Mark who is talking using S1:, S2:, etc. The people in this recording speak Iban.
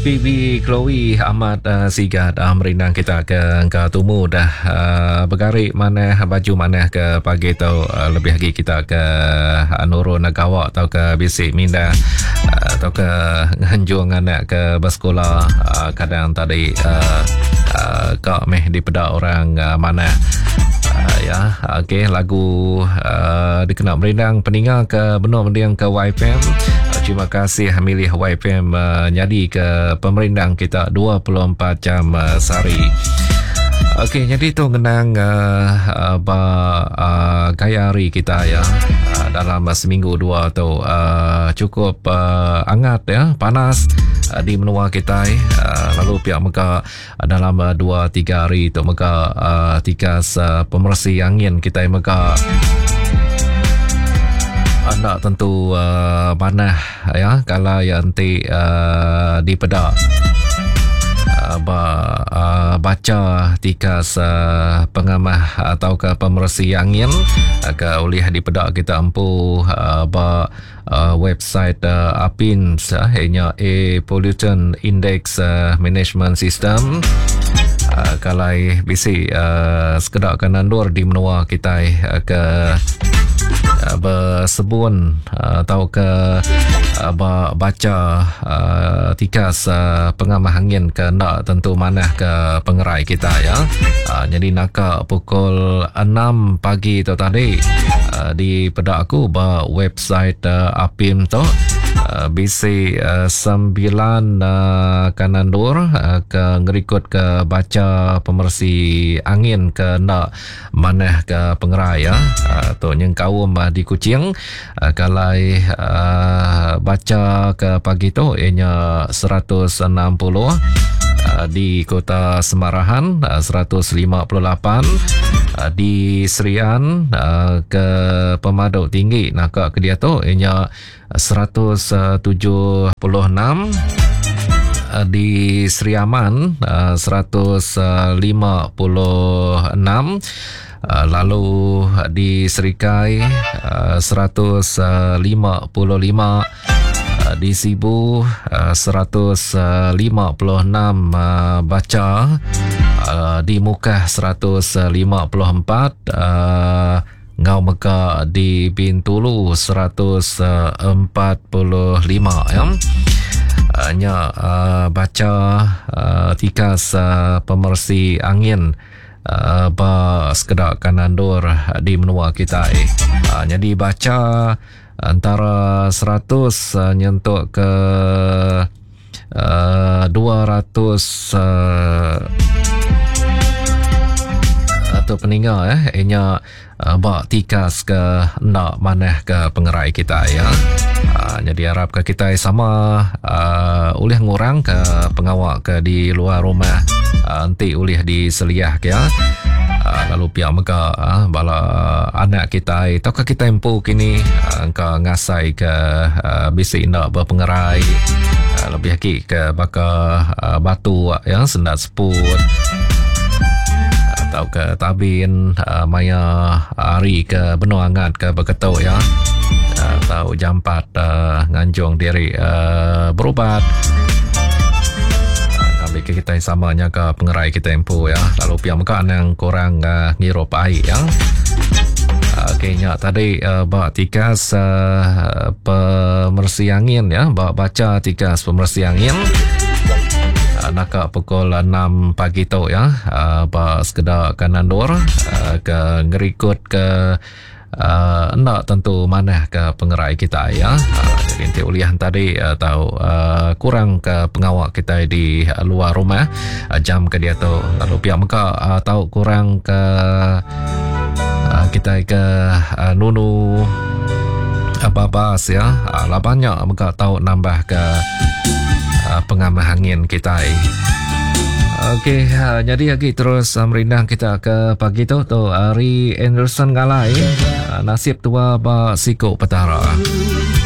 S1: PB Chloe amat uh, sigat uh, merindang kita ke engka tumu dah uh, begari manah baju manah ke pagi tu uh, lebih lagi kita ke uh, nurun gawa atau ke bisi mindah uh, atau ke nganjung anak ke bersekolah uh, kadang tadi uh, uh, ka meh dipeda orang uh, manah uh, ya okey lagu uh, dikena merindang peninga ke benung mending ke YFM uh, terima kasih milih YFM uh, nyadi ke pemerindang kita 24 jam uh, sehari Okey, jadi tu ngenang uh, uh, ba uh, gaya hari kita ya uh, dalam uh, seminggu dua tu uh, cukup uh, angat ya, panas uh, di menua kita uh, lalu pihak mega uh, dalam uh, dua tiga hari tu mega uh, tikas uh, pemersi angin kita mega anda tentu uh, manah ya kalau yang nanti uh, dipeda uh, ba, uh, baca tikas uh, pengamah atau ke pemersi angin uh, ke ulih dipeda kita empu uh, ba uh, website uh, APINS uh, ianya Air Pollutant Index uh, Management System uh, kalau bisi uh, sekeda ke nandur di menua kita uh, ke uh, bersebun uh, atau ke uh, baca uh, tikas uh, pengamah angin ke ndak tentu manah ke pengerai kita ya. Uh, jadi naka pukul 6 pagi tu tadi uh, di peda aku ba website uh, APIM tu uh, bisi uh, 9 uh, kanandur uh, ke ngerikut ke baca pemersi angin ke ndak manah ke pengerai ya. Uh, tu nyengkaum uh, di Kuching uh, kalai uh, baca ke pagi tu ianya 160 uh, di Kota Semarahan uh, 158 uh, di Serian uh, ke pemaduk tinggi naka ke dia tu ianya 176 uh, di Sri Aman uh, 156 uh, lalu di Serikai uh, 155 uh, di Sibu uh, 156 uh, baca uh, di Mukah 154 uh, ngau mega di Bintulu 145 ya. Uh, nya uh, baca uh, tikas uh, pemersi angin uh, ba sekeda kanandur di menua kita. Uh, jadi baca antara 100 uh, nyentuk ke uh, 200 uh, atau peninga eh inya uh, ba tikas ke enda manah ke pengerai kita ya. Uh, jadi harap ke kita sama uh, ulih ngurang ke pengawa ke di luar rumah uh, enti ulih diseliah ke ya. Uh, lalu pihak mega uh, bala anak kita atau ke kita empu kini uh, engka ngasai ke uh, bisi enda berpengerai uh, lebih lagi ke baka uh, batu ya sendat seput atau ke tabin uh, maya hari ke benua angat ke beketuk ya atau jampat uh, nganjung diri uh, berubat uh, ambil ke kita sama nya ke pengerai kita empu ya lalu pia mega nang kurang uh, ngirup air ya. Okey nya tadi uh, ba tikas uh, pemersi angin ya, ba baca tikas pemersi angin uh, naka pukul 6 pagi tu ya uh, ba sekeda kanandur uh, ke ngerikut ke uh, enda tentu manah ke pengerai kita ya. Uh, jadi nanti ulihan tadi uh, tahu uh, kurang ke pengawak kita di uh, luar rumah uh, jam ke dia tu lalu pihak mereka uh, tahu kurang ke uh, kita ke uh, nunu apa-apa ya. Uh, lah banyak mereka tahu nambah ke uh, pengamah angin kita. Okey, ha, jadi lagi terus uh, merindang kita ke pagi tu tu Ari Anderson Galai uh, nasib tua ba siko petara.